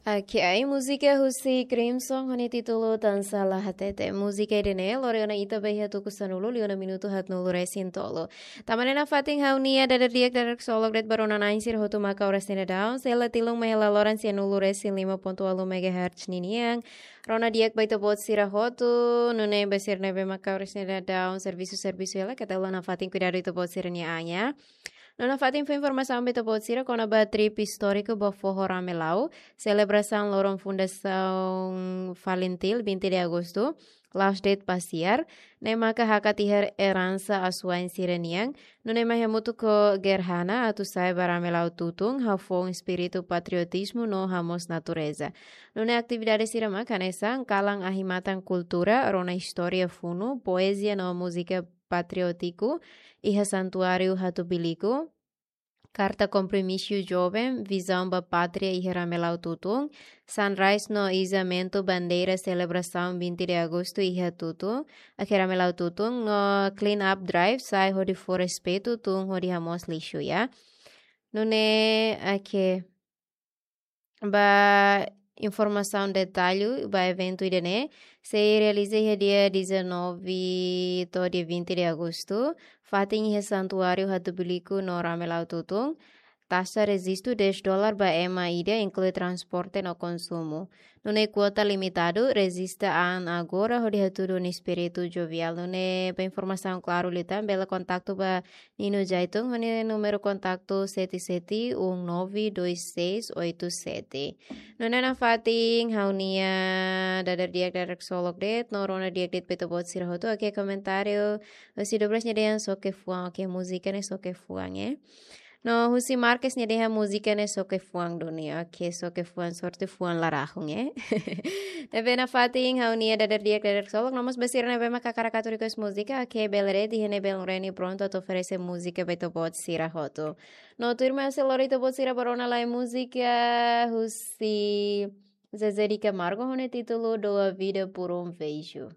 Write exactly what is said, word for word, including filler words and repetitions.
Oke, ai múzika husi Crimson ho nia títulu Tansá La Hatete. Múzika ida-ne'e lori ona ita ba iha tuku sanulu liu ona minutu haatnulu resin tolu. Tanba ne'e nafatin ha'u-nia dadeer di'ak dadeer ksolok de'it ba rona-na'in sira hotu mak oras ne'e daudaun. Sei la tilun mai hela loran sianulu resin lima pontu ualu megahertz ninian. Rona di'ak ba ita-boot sira hotu, nune'e ba sira ne'ebé mak oras ne'e daudaun servisu, servisu hela, keta haluha nafatin kuidadu ita-boot sira-nia an, ya. No nafatin fó informasaun ba ita-boot sira kona-ba trip istóriku ba foho Ramelau, selebrasaun loron fundasaun Falintil, vinte de agosto, la'ós de'it pasiar, ne'e maka hakat iha eransa asuwa'in sira-nian, nune'e mai hamutuk ho gerhana atu sa'e ba Ramelau tutun, hafoun espíritu patriotizmu no hamoos natureza. Nune'e atividade sira mak hanesan kalan ahi-matan kultura, rona istória funu, poezia no múzika patriótiku iha Santuáriu Hatubuiliku, karta kompromisu joven, vizaun ba pátria iha Ramelau tutun, sunrise no izamentu bandeira selebrasaun vinte de agosto iha tutun, iha Ramelau tutun, no clean up drive, sa'e hodi fó respeitu, tun hodi hamoos lixu, ya. Nune'e, oke. Ba informasaun detallu ba eventu ida-ne'e, sei realiza iha dia dezanove to'o dia vinte de agosto, fatin iha Santuáriu Hatubuiliku no Ramelau tutun, taxa rejistu dez dólar ba ema ida, inklui transporte no konsumu. Nune'e kuota limitadu, rejista an agora hodi hatudu nia espíritu joviál. Nune'e ba informasaun klaru liután, bele kontaktu ba Nino Jaitung, ho nia númeru kontaktu sete sete um nove dois seis oito sete. Nune'e nafatin ha'u-nia dadeer di'ak dadeer ksolok de'it, no rona di'ak de'it ba ita-boot sira hotu, oke, komentáriu husi Douglas nia dehan xoke fuan, oke, múzika ne'e xoke fuan, eh. No husi Marques nia dehan múzika ne'e xoke fuan duni, oke, xoke fuan, sorte fuan la rahun, eh. Ne'ebé nafatin ha'u-nia dadeer di'ak dadeer ksolok, no mós ba sira ne'ebé mak hakarak atu request múzika, oke, bele de'it, iha ne'e belun Reni prontu atu oferese múzika ba ita-boot sira hotu. No tuirmai ha'u sei lori ita-boot sira ba rona lai múzika husi Zezé de Camargo ho nia títulu Dou a Vida por um Beijo.